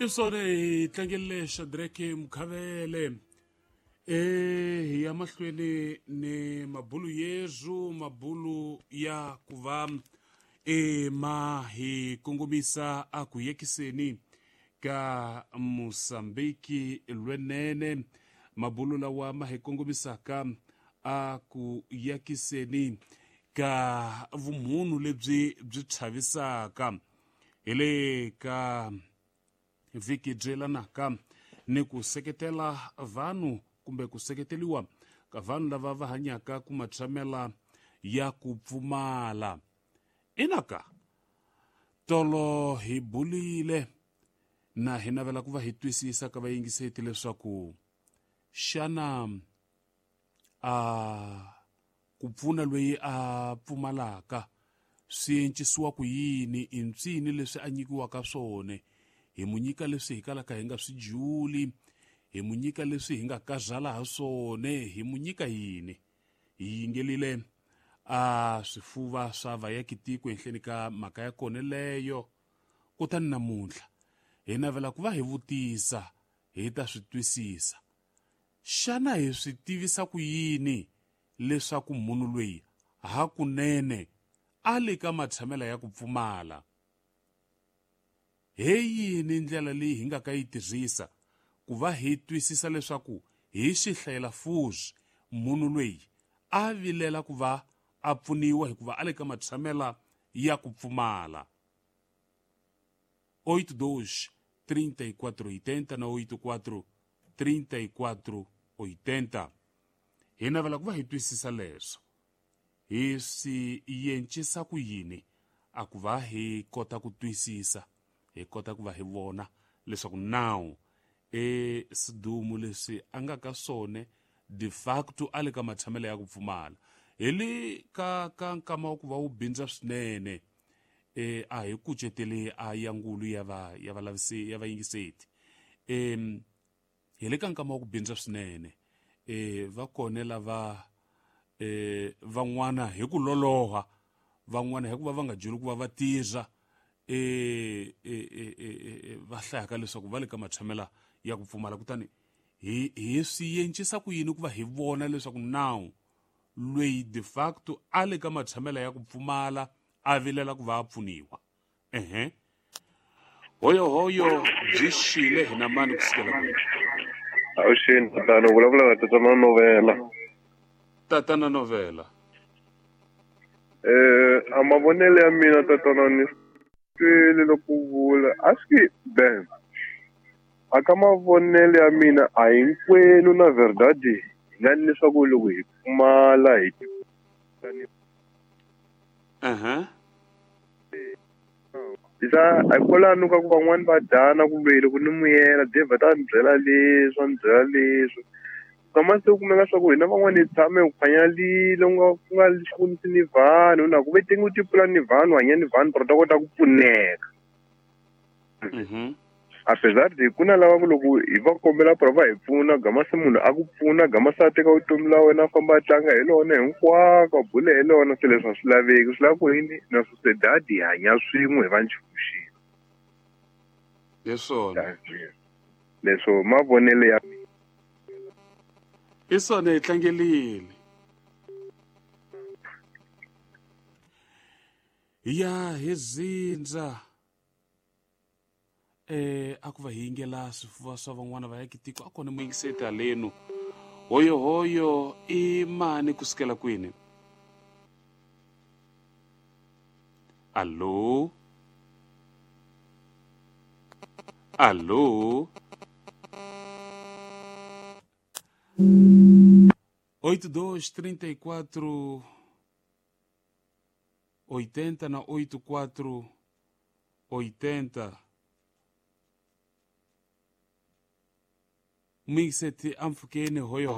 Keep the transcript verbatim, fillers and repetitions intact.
Isone hi tlangele Shadrack Mukhavele eh hi ya mahlweni ni mabulu yezu mabulu ya kuva e ma hi kongomisa a ku yekiseni ka Mosambiki lwenene mabulu lawa ma hi kongomisaka a ku yakiseni ka vumunhu lebyi byi chavisaka hi le ka vhiki byelanaka ni ku seketela vanhu kumbe ku seketeliwa ka vanhu lava va hanyaka ku matshamela ya ku pfumala. Inaka tolo hi bulile na hi navela ku va hi twisisa ka vayingiseti leswaku xana a ku pfuna loyi a pfumalaka swi encisiwa ku yini, i mpsini leswi a nyikiwaka swona, hi mu nyika leswi hi kalaka hi nga swi juli, hi mu nyika leswi hi nga kazala ha swona, hi mu nyika yini. Hi yingelile a swifuva swa vayakitiko ehenhleni ka mhaka ya kona leyo. Kutani namuntlha hi navela ku va hi vutisa hi ta swi twisisa, xana hi swi tivisa ku yini leswaku munhu loyi hakunene a le ka matshamela ya ku pfumala? He yini ndlela leyi hi nga ka yi tirhisa ku va hi twisisa leswaku hi xihlayela fuzi munhu loyi a vilela ku va a pfuniwa hikuva a le ka matshamela ya ku pfumala? oito dois trinta e quatro oitenta na oito quatro trinta e quatro oitenta. Hi navela ku va hi twisisa leswo hi swi yencisa ku yini a ku va hi kota ku twisisa, hi kota ku va hi vona leswaku nawu e sidumu leswi a nga ka swona de facto a le ka matshamela ya ku pfumala. Hi le ka ka nkama wa ku va wu bindza swinene e a hi kucetele a yangulu ya va ya valavisi ya vayingiseti. Em hi le ka nkama wa ku bindza swinene e va kone lava e van'wana hi ku loloha, van'wana hi ku va va nga juli ku va va tirha e e e va hlayaka leswaku va le ka matshamela ya ku pfumala. Kutani hi hi swi yencisa ku yini ku va hi vona leswaku nawu loyi de facto a le ka matshamela ya ku pfumala a vilela ku va a pfuniwa? Ehe hoyo hoyo byi xile hi na mani kusukela kwihi? Avuxeni tatana, u vulavula na tatana Novela. Tatana Novela. Eh a mavonelo ya mina tatana ni twile loko u vula a swi ben a ka mavonelo ya mina a hinkwenu na verdade hi nga ni leswaku loko hi pfumala hi uh-huh. Isa a kwalano ka ku van'wani va dyana kumbe loko ni muyela Dave ta ni byela leswi a ni byela leswi kama se u kumeka swa ku hina van'wani hi tshame hi khwanyalile u nga ku nga xivonisi ni vanhu na ku ve tenge u tipfula ni vanhu hanya ni vanhu pero ta kota ku pfuneka. Mhm. Apesar de ku na lava ku loko hi va kombela pero va hi pfuna gama se munhu a ku pfuna gama se a teka vutomi la wena a famba a tlanga hi lona hinkwako a bule hi lona se leswi a swi laveki swi lava ku yini na sociedade hi hanya swin'we hi va nchumu xin'we. Hi swona leswo mavonelo ya hi swona hi tlangelile. Ya hi zindza eh a ku va hi yingela swifuva swa van'wana va yakitiko a kona muyingiseti halenu. Hoyo hoyo i mani kusukela kwini? Allo, allo. Oito dois trinta e quatro oitenta na oito quatro oitenta. Mixete amfukeni hoyo hoyo.